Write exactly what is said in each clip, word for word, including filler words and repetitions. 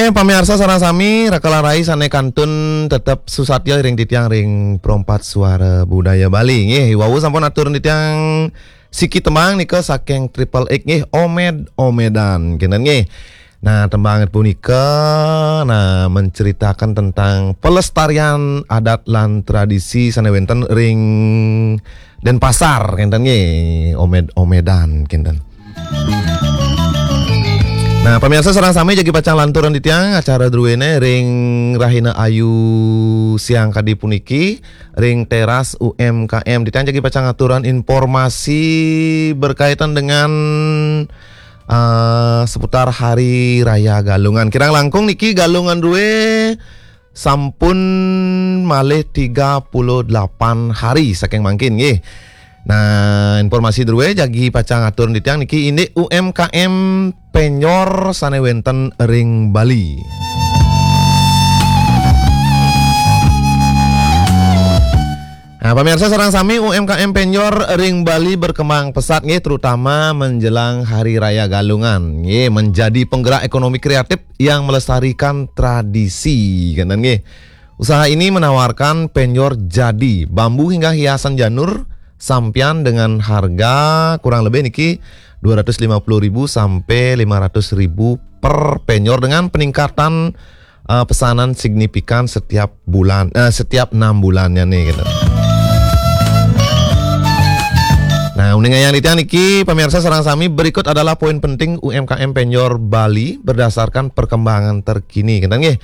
Eh, pamiarsa sareng sami, raka lan rai sane kantun tetep susatya ring titiang ring Perompat Suara Budaya Bali. Nggih, wau sampun atur titiang siki tembang nika saking Triple X nggih, Omed-omedan, kenten nggih. Nah, tembang punika, nah, menceritakan tentang pelestarian adat lan tradisi sane wenten ring Denpasar, kenten nggih, Omed-omedan, kenten. Nah, pamiarsa sareng sami jagi pacang lanturang titiang acara druene ring Rahina Ayu siang kadi puniki ring teras U M K M. Titiang jagi pacang aturan informasi berkaitan dengan, eh, seputar Hari Raya Galungan. Kirang langkung niki Galungan drue sampun malih tiga puluh delapan hari saking mangkin nggih. Nah, informasi drue jagi pacang atur titiang niki indik U M K M Penyor sane wenten ring Bali. Nah, pamiarsa sareng sami, U M K M Penyor ring Bali berkembang pesat nggih, terutama menjelang Hari Raya Galungan nggih, menjadi penggerak ekonomi kreatif yang melestarikan tradisi, kenten nggih. Usaha ini menawarkan penyor jadi bambu hingga hiasan janur sampian dengan harga kurang lebih niki dua ratus lima puluh ribu sampai lima ratus ribu per penyor dengan peningkatan, eh, pesanan signifikan setiap bulan, eh, setiap enam bulannya nih gitu. Nah, uning ayang titiang niki, pamiarsa sareng sami, berikut adalah poin penting U M K M Penyor Bali berdasarkan perkembangan terkini. Kenten nggih.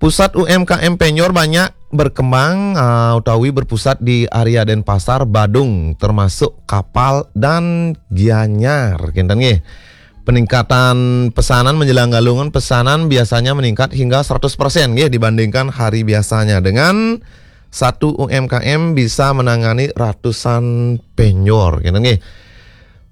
Pusat U M K M Penyor banyak berkembang, eh, utawi berpusat di area Denpasar, Badung, termasuk Kapal dan Gianyar. Kenten nggih. Peningkatan pesanan menjelang Galungan, pesanan biasanya meningkat hingga seratus persen nggih dibandingkan hari biasanya, dengan satu U M K M bisa menangani ratusan penyor, kenten nggih.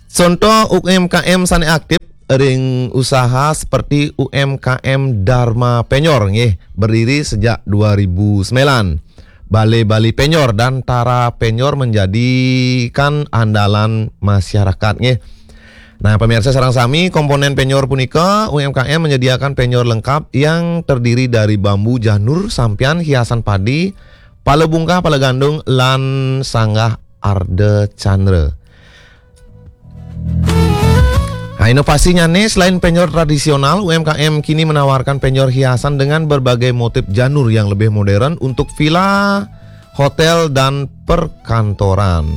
Contoh U M K M sane aktif ring usaha seperti U M K M Dharma Penyor nggih, berdiri sejak dua ribu sembilan. Bale Bali Penyor dan Tara Penyor menjadikan andalan masyarakat nggih. Nah, pamiarsa sareng sami, komponen penyor punika, U M K M menyediakan penyor lengkap yang terdiri dari bambu janur, sampian, hiasan padi, pala bungkah, pala gandung, lan sanggah Arda Candra. Nah, inovasinya nih, selain penyor tradisional, U M K M kini menawarkan penyor hiasan dengan berbagai motif janur yang lebih modern untuk villa, hotel, dan perkantoran.